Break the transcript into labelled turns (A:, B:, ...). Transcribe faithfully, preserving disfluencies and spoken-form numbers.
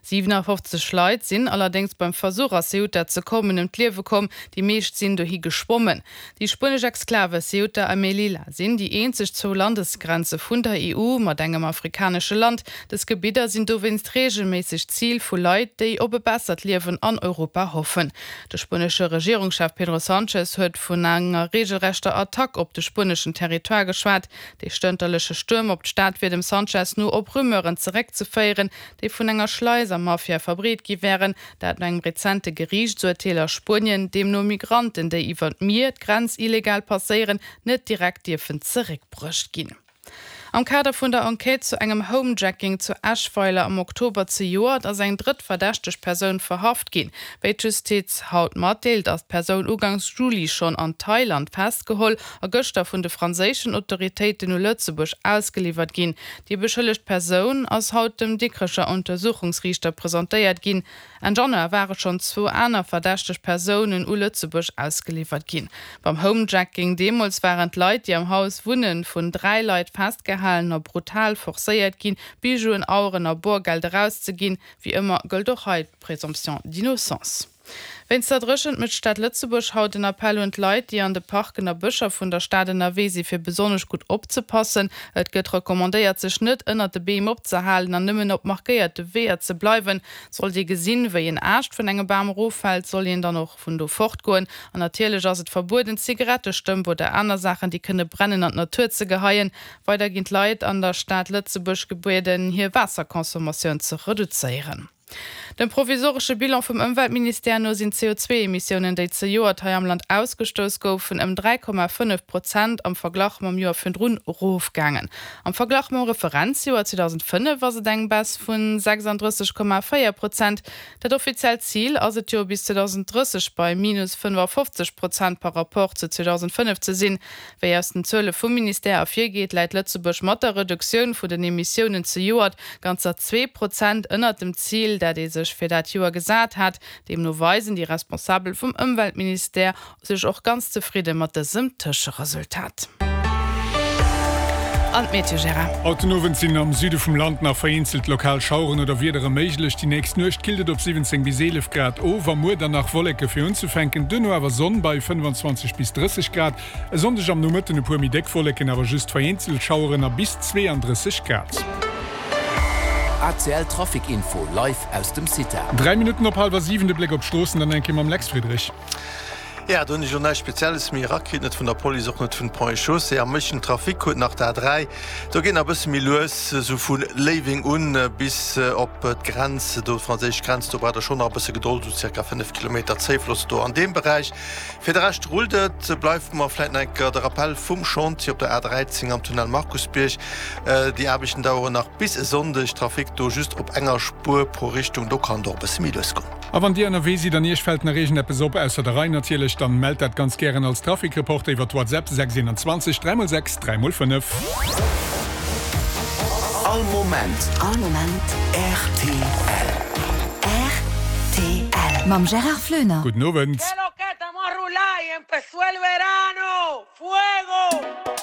A: siwenafofzeg Leit sinn allerdéngs beim Versuch a Ceuta ze kommen ëm d'Liewe komm, déi meescht sinn dohi geschwommen. Déi spuenesch Exklave Ceuta a Melilla sinn déi eenzeg zwou Landesgrenze vun der E U mat engem afrikanesche Land. Dës Gebidder sinn dowéinst reegelméisseg Zil vu Leit, déi op e bessert Liewen an Europa hoffen. De spuenesche Regierungschef Pedro Sánchez huet vun enger reegelrechter Attack op de spueneschen Territoire geschwat. De stënterleche Stuerm op d'Stad wier dem Sánchez no op Rumeuren zeréckzeféieren, déi vun enger Schleisermafia verbreet gi wären, dat no engem rezente Geriichtsurteel a Spuenien, deemno Migranten, déi iwwer d'Mier d'Grenz illegal passéieren, net direkt dierfen zeréckbruecht ginn. Am Kader vun der Enquête zu engem Homejacking zu Eschweiler am Oktober zejoert ass eng drëtt verdächteg Persoun verhaft ginn. Wéi d'Justiz haut matdeelt, ass d'Persoun ugangs Juli schonn an Thailand festgeholl a gëschter vun de franséischen Autoritéiten u Lëtzebuerg ausgeliwwert ginn. Déi beschëllegt Persoun ass haut dem Dikrecher Untersuchungsriichter presentéiert ginn. Enn Januar ware schonn zwou aner verdächteg Persounen u Lëtzebuerg ausgeliwwert ginn. Beim Homejacking deemools waren d'Leit, déi am Haus wunnen, vun dräi Leit festgehalen a brutal forcéiert ginn, Bijouen, Aueren a Boergeld erauszeginn. Wéi ëmmer gëllt och hei d'Présomption d'innocence. Wéinst der Dréchent mécht d'Stad Lëtzebuerg haut en Appell un d'Leit, déi an de Parken a Bëscher vun der Stad ënnerwee sinn, fir besonnesch gutt opzepassen. Et gëtt recommandéiert, sech net ënnert de Beem opzehalen an nëmmen op markéierte Weeër ze bleiwen. Sollt ee gesinn, wéi en Aascht vun engem Bam eroffält, soll een dann och vun do fortgoen. An natierlech ass et verbueden, Zigarettestëmp oder aner Saachen, déi kënne brennen, an d'Natur ze geheien. Weider ginn d'Leit an der Stad Lëtzebuerg gebieden, hir Waasserconsommatioun ze reduzéieren. Dem provisoresche Bilan vum Ëmweltministère no sinn d'C O zwee Emissiounen, déi zejoert hei am Land ausgestouss goufen, ëm dräi Komma fënnef Prozent am Verglach mam Joer virdrun erofgaangen. Am Verglach mam Referenzjoer zweedausendfënnef ass et eng Baisse vu sechsanddrësseg Komma véier Prozent. Dat offiziellt Zil ass et jo, bis zweedausenddrësseg bei minus fënnefafofzeg Prozent par rapport zu zweedausendfënnef ze sinn. Wéi aus den Zuele vum Ministère ervirgeet, läit Lëtzebuerg mat der Reduktioun vun den Emissiounen zejoert ganzer zwee Prozent ënnert dem Zil, dat ee sech fir dat Joer gesat hat. Deemno weisen déi Responsabel vum Ëmweltministère sech och ganz zefridde mat dësem Tëscheresultat. An d'Meteo, Gérard.
B: Haut den Owend sinn am Süde vum Land nach vereenzelt lokal Schaueren oder Wiedere méiglech. Déi nächst Nuecht killt et op siwwenzéng bis eelef Grad of a muer dann nach Wolleke fir unzefänken, duerno awer Sonn bei fënnefanzwanzeg bis drësseg Grad. E Sonndeg am Nomëtten e puer méi déck Wolleken, awer just vereenzelt Schaueren a bis zweeandrësseg Grad.
C: A C L Trafic Info live aus dem CITA.
B: Dräi Minutten op hallwer siwen, de Bléck op d'Stroossen dann eng Kéier mam Lex Friedrich.
D: Jo, do hunn ech elo näischt Spezielles méi erakritt, net vun der Police, och net vun Ponts et Chaussées. Am meeschten Trafic huet nach d'A dräi. Do geet nach e bësse méi lues, esou vu Léiweng un bis op d'Grenz, do d'franséisch Grenz. Do braucht der schonn nach e bësse Gedold, esou zirka fënnef Kilometer Zéifloss do an deem Beräich. Fir de Rescht rullt et. Bleift mer vläit nach eng Kéier de Rappel vum Chantier op der A dräizéng am Tunnel Markusbierg. Déi Aarbechten daueren nach bis e Sonndeg. Trafic do just op enger Spuer pro Richtung. Do kann et och e bësse méi lues goen.
B: A wann Dir ënnerwee sidd an Iech fält nach iergendeppes op, ausser der Rei natierlech, dann mellt dat ganz gären als Trafic-Reporter iwwer WhatsApp sechs einundzwanzeg dräi mol sechs dräi mol fënnef.
C: All Moment.
E: All Moment.
C: Rtl.
E: Rtl. Mam Gérard Floener.
B: Gudden Owend.